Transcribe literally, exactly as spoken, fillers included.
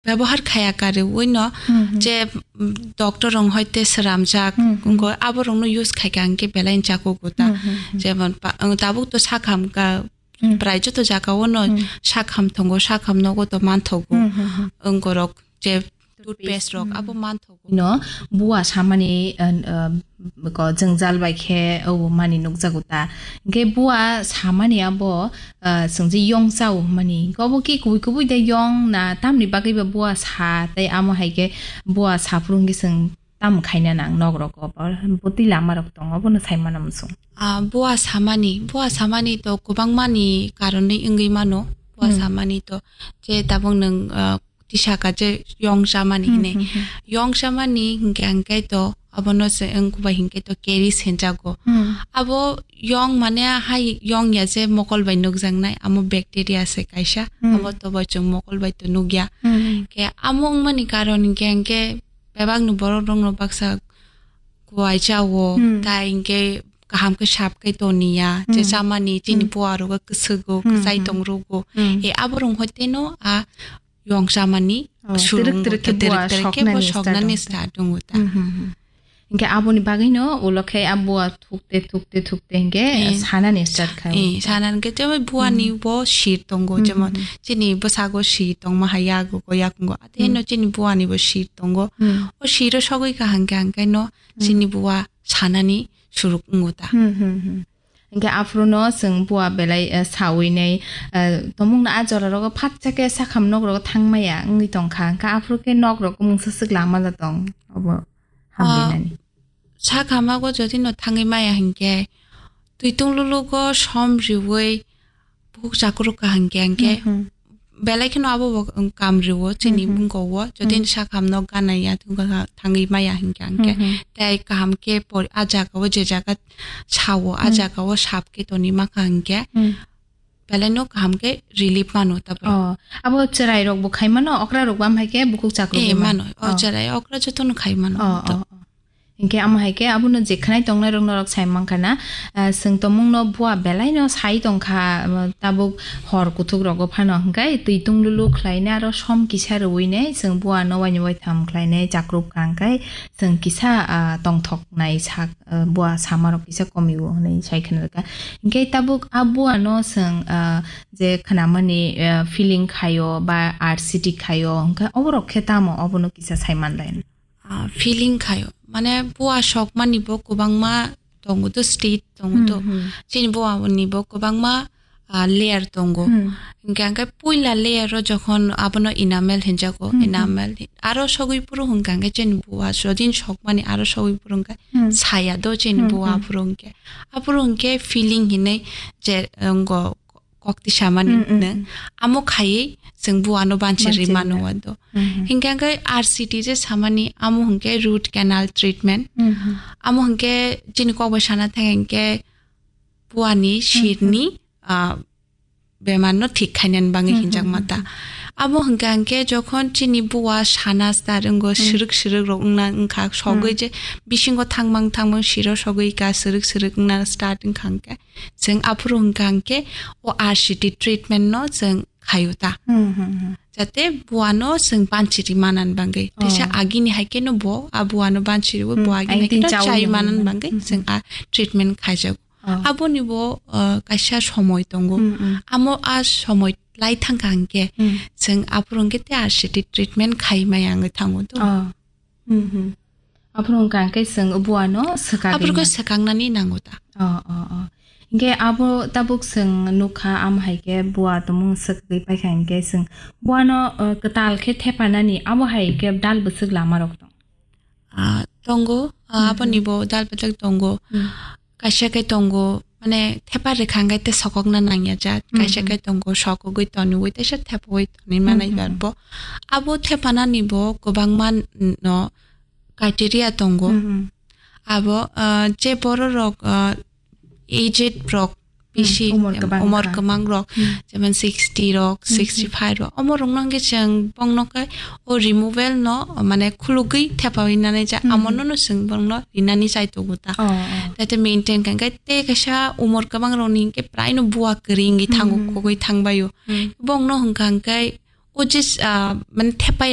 byabohar khaya karwi no Hmm, hmm. je, mm, doctor rong hoite sramjak Hmm, hmm. wngkha, abo rokno use khaikha hwnkhe belai jakugo ta. Hmm, hmm, hmm. Jemon pa-, ang tabuk to sakham ka Hmm. prai joto jaga o no Hmm. sakham tongo, sakham nogo to manthogo. Hmm, hmm, hmm. Wngkorok je toothpaste rok Hmm. abo manthogo. No, bua samani, uh, uh, ko jwngjal bai khe o mani nukjago ta. Hwnkhe bua samani abo, uh, chwng je yong chao hwnmani. Hwnkhe obo ki kubui kubui de yong na tamni bagwi ba bua sa tei amo hai khe bua saphuru hwnkhe chwng tamo khaina nang nok rok o? Bo twi lama rok tongo, bono sai mano muchung. Ah, bua samani, bua samani to kwbangmani karonwi wngwi mano. Bua Hmm. samani to je tabuk nwng, ah, tisaka je yong chamani Hmm, hinwi. hmm, hmm. Yong chamani hwnkhe hwnkhe to abono se wngkhe bai hwnkhe to caries hinjago. Hmm. Abo yong mane hai yong ya je mokol bai nukjaknai, amo bacteria se kaisa. Hmm. Amo to bai chwng mokol bai to nukya. Hmm. Ke amo wngmani karon hwnkhe hwnkhe bebakni borok rokno baksa kuai chao, Hmm. tai hwnkhe kaham khe sap khe toniya, je Hmm. chamani chini Hmm. bua rogo kwswgo, Hmm, kwchai hmm. tong rogo. Hmm. E abo rong hoite no a yong chamani Oh, surung twrwk twrwk khe twrwk bua twrwk khe bo soknani start soknani wngkha. Start wngo ta. Hmm, hmm, hmm. Hwnkhe aboni bagwino ulo khe a bua thukte thukte thukte hwnkhe Eh, sanani start kha. Eh, sanani khe jemon buani Hmm. bo sir tongo, Hmm, jemon hmm, hmm. chini bwsago sir tongma hai yago yakungo. Ate Hmm. no chini buani bo sir tongo. Hmm. O siro sogwi kaham khe hwnkhe no Hmm. chini bua sanani suruk wngo ta. Hmm, hmm, hmm. Hwnkhe aphuru no chwng bua belai, eh, sawi nai, eh, tomung no a jora rogo phatsa khe sakham nok rogo thang maya wngwi tong kha. Hwnkhe aphuru khe nok rogo mungsa swk lama da tong obo Ah, hamlinani. Sakham o jodi no thangwi maya hwnkhe twi tung lulugo som riwi bukhuk chakruk ka hwnkhe hwnkhe Hmm, hmm. belai kheno abo bo, um, kam rwo chini Hmm, hmm. bwkha o, jodi Hmm. sakham no gana ya thangwi maya hwnkhe hwnkhe Hmm, hmm. tei kaham khe por-, a jaga o je jaga sao, a Hmm. jaga o sap khe toni ma kha hwnkhe Hmm. belai no kaham khe relief mano ta borok. Oh, abo chwrai rok bo khai mano, okra rok bo am hai khe bukhuk chakruk Eh, mano. Oh, oh. Chwrai okra joto no khai mano. Oh, to. Oh, oh. Hinkhe amo hai khe abono je khwnai tongnai rok norok sai mankha na, ah, chwng tomung no bua belai no sai tongkha, ah, tabuk hor kuthuk rogo phano hinkhe twi tung lulu khlai nai aro som kisa rwui nai chwng bua no waini waitham khlai nai chakruk kha hinkhe chwng kisa, ah, tongthok nai sak, ah, bua sama rok kisa komi o hinui sai khna rwkha. Hinkhe tabuk a bua no chwng, ah, je khna mani, ah, feeling khaio ba R C T khaio hinkhe oborok khe tamo obono kisa sai manlai. Ah, feeling khaio. Mane bua sokmani bo kwbangma tongo to, stage tongo to. Hmm, hmm. Chini bua ni bo kwbangma, ah, layer tongo. Hmm. Hingke angke puila layer o jokhon abono enamel hinjago, Hmm, hmm. enamel. Aro sogwi puru hingke angke chini bua sodin sokmani aro sogwi puru hingke Hmm. saya do chini Hmm, bua hmm. Puru hingke. Apuru hingke feeling hinui je, eh, ngo kok tisamani Hmm, hmm, ne. Hmm. Amo khaiwi chwng buano banchi Banchi rimano rimano. Wado. Hmm, hmm. Hingke angke R C T je samani amo hingke root canal treatment. Hmm, hmm. Amo hingke chini kok bai sana thang hingke buani Hmm, hmm. Sirni, ah, bemarno thik khainani bagwi Hmm, hinjak hmm, mata. Hmm. Amo hingke angke jokhon chini bua sana star wnggo Hmm. Sirwk sirwk rok wngna wngkha sogwi Hmm. Je bisingo thangmang thangmang siro sogwi ka sirwk sirwk wngna start wngkha hingke. Chwng aphuru hwnkha hwnkhe o R C T treatment no chwng khaio ta. Hmm, hmm, hmm. Jate buano chwng banchiri manani bagwi. Teisa Oh. Agini hai kheno bo a buano banchiri o, bo Hmm, agini hai kheno chai manani bagwi Hmm, chwng hmm. A treatment khaijago. Oh. Aboni bo, uh, kaisa somoi tongo. Hmm, hmm. Amo a somoi lai thangkha hwnkhe Hmm. Chwng aphuru hwnkhe te R C T treatment khai maya wngwi thango to. Oh. Hmm, hmm. Aphuru hwnkha hwnkhe chwng buano swkagwi Aphuru khe man- swkangnani nango ta. Oh, oh, oh. Hingke abo tabuk chwng nukha, am hai khe bua tumung swkgwi paikha hingke chwng buano, uh, kwtal khe thepanani abo hai khe dal bwswk lama rok tong? Ah, tongo, ah, Hmm, aboni hmm. Bo dal bwswk tongo. Hmm. Kaisa khe tongo, mane thepa rwkha hwnkhe tei sokokna nangya jak. Hmm, kaisa hmm. Khe tongo, sokogwi tonwi, teisa thepogwi tonwi manai Hmm, hmm. Bar bo. Abo thepanani bo kwbangma no criteria tongo. Hmm, hmm. Abo, ah, je borok rok, ah, aged rok Hmm, bisi, umor em, kwbang umor kha. Kwbang rok, Hmm. Jemon sixty rok, Hmm, hmm. Sixty five rok, omo rok no hwnkhe chwng bongno khe o removal no, mane khulugwi thepawi nani ja, Hmm, amo hmm. No no chwng bongno rinani chai tongo ta. Oh, oh. Tei maintain kha hwnkhe tei kaisa umor kwbang rok ni hwnkhe prai no bua kwrwi wngwi thango, Hmm, hmm. Khogwi thangbaio. Hmm. Bongno hwnkha hwnkhe o je, ah, mane thepai